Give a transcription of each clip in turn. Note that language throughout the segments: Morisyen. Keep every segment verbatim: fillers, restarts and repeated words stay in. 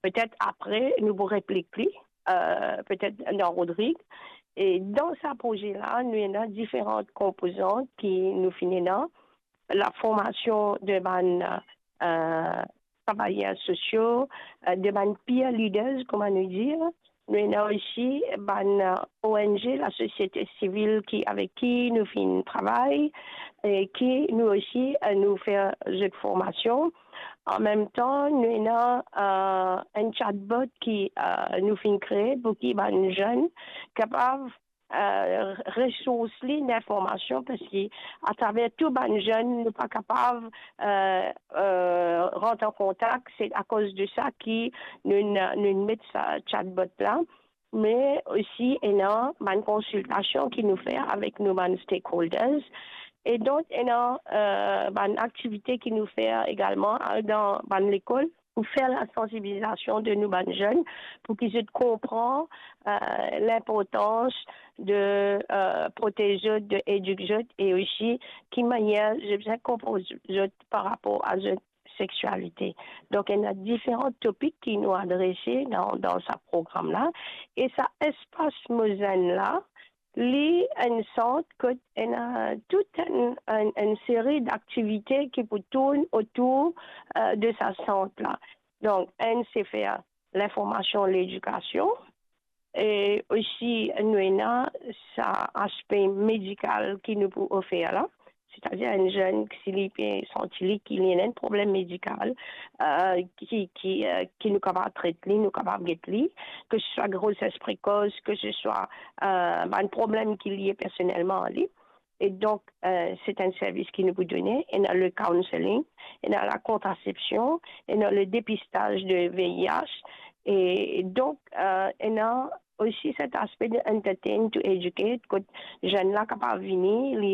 Petet apre, nou pou replik li, euh, petet dan Rodrig. E dan sa proze la, nou ena diferan konpozant ki nou finn ena. La formasion de bann, euh, travayer sosio, euh, de bann peer leaders, kouma nou dir. Nou ena osi bann, euh, O N G, lasosiete sivil ki, avek ki nou finn travay, e ki nou osi, euh, nou fer zot formasion. An mem tan, nou ena, euh, enn chatbot ki, euh, nou finn kree pou ki bann zenn kapav, euh, resours li linformasion, parski atraver tou bann zenn, nou pa kapav, euh, euh, rant an kontak. Se akoz de sa ki nou, nou met sa chatbot la. Me osi ena bann konsiltasion ki nou fer avek nou bann stakeholders. E donk, ena, euh, bann aktivite ki nou fer egalman, euh, dan bann lekol pou fer lasansibilizasion de nou bann zenn, pou ki zot konpran, euh, linportans de, euh, protez zot, de edik zot, e osi ki manier zot bizin konpoz zot par rapor a zot seksialite. Donk, ena diferan topik ki nou adrese dan, dan sa program la. E sa espas Mo Zenn la, li enn sant kot ena tout enn, enn, enn seri daktivite ki pou tourn otour, euh, de sa sant la. Donk, enn se fer linformasion, ledikasion, e osi nou ena sa aspe medikal ki nou pou ofer la. Setadir enn zenn, si li pe santi li ki li ena enn problem medikal, euh, ki, ki, euh, ki nou kapav tret li, nou kapav get li, ke se swa groses prekos, ke se swa, euh, bann problem ki lie personelman a li. E donk, euh, se enn servis ki nou pou done, ena le counselling, ena la kontrasepsion, ena le depistaz de V I H, e donk, euh, ena osi set aspe de entertain to educate, kot zenn la kapav vini, li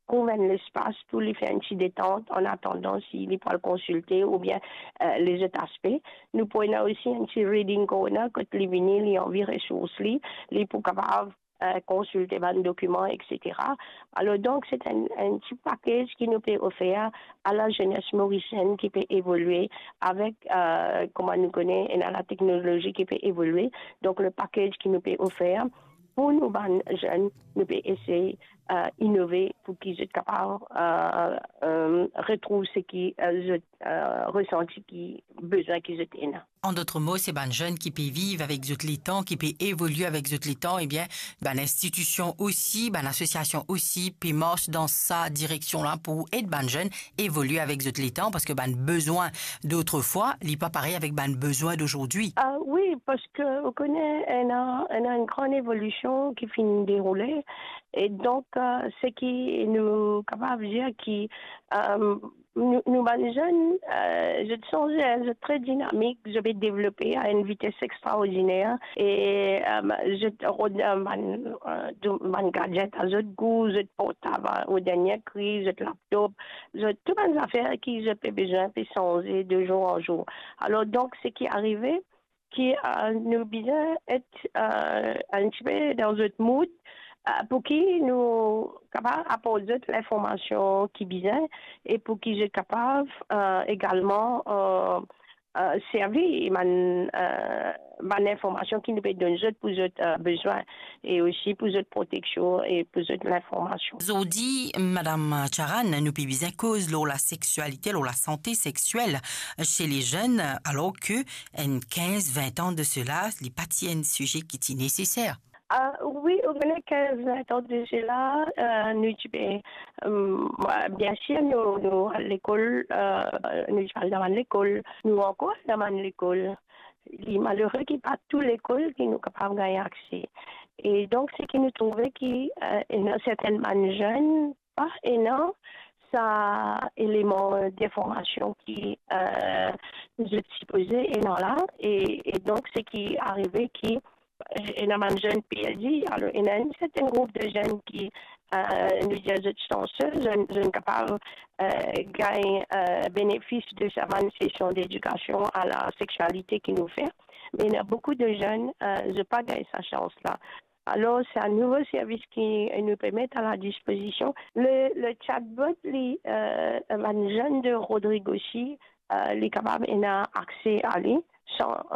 trouv enn lespas pou li fer enn ti detant, an atandan si li pou al konsilte oubien, euh, lezot aspe. Nou pou ena osi enn ti reading corner, kot li vini, li anvi resours li, li pou kapav, euh, konsilte bann dokiman, et cetera. Alor, donk, se enn, enn ti package ki nou pe ofer a lazenes morisienn ki pe evolie avek, euh, kouma nou kone, ena lateknolozi ki pe evolie. Donk, le package ki nou pe ofer pou nou bann zenn, nou pe esey, euh, inove pou ki zot kapav, euh, euh, retrouv seki, euh, zot, euh, resanti ki, bizin ki zot ena. An dot mo, se bann zenn ki pe viv avek zot letan, ki pe evolie avek zot letan, ebien, bann institision osi, bann asosiasion osi pe mars dan sa direksion la pou ed bann zenn evolie avek zot letan, parski bann bizin dotrefwa, li pa parey avek bann bizin dozordi. Ah wi, parski ou kone, ena, ena enn gran evolision ki finn deroule, e donk, euh, seki nou kapav dir ki, euh, nou, nou bann zenn, euh, zot sanze, zot tre dinamik, zot pe devlope a enn vites extraordiner, e, euh, zot rod, euh, bann, euh, tou bann gadget a zot gou, zot portab, euh, o dernie kri, zot laptop, zot, tou bann zafer ki zot pe bizin pe sanze de zour an zour. Alor, donk, seki arive, ki, euh, nou bizin et, euh, enn tipe dan zot mood, euh, pou ki nou kapav aport zot linformasion ki bizin, e pou ki zot kapav, euh, egalman, euh, euh, servi bann, euh, bann linformasion ki nou pe donn zot pou zot, euh, bizin, e osi pou zot proteksion e pou zot linformasion. Zordi, Madam Charan, nou pe bizin koz lor laseksialite, lor lasante seksiel se lezenn, alor ke enn kinz, vin an de sela, li pa ti enn size ki ti neseser. Ah, wi, ou kone, kinz, vin an de sela, euh, nou ti pe, euh, biensir, nou, nou al lekol, euh, nou ti al dan bann lekol, nou ankor al dan bann lekol. Li malere ki pa tou lekol ki nou kapav gagn akse. E donk, seki nou trouve ki, euh, ena sertin bann zenn pa ena sa eleman, euh, dinformasion ki, euh, zot sipoze ena la, e, e donk, seki arive ki, euh, ena bann zenn perdi. Alor, ena enn sertin group de zenn ki, euh, nou dir zot sanse, zot, zot kapav, euh, gagn, euh, benefis de sa bann sesion dedikasion a laseksialite ki nou fer. Me ena boukou de zenn, euh, zot pa gagn sa sans la. Alor, sa nouvo servis ki nou pe met a ladispozision. Le, le chatbot, li, euh, bann zenn de Rodrig osi, euh, li kapav ena akse a li san,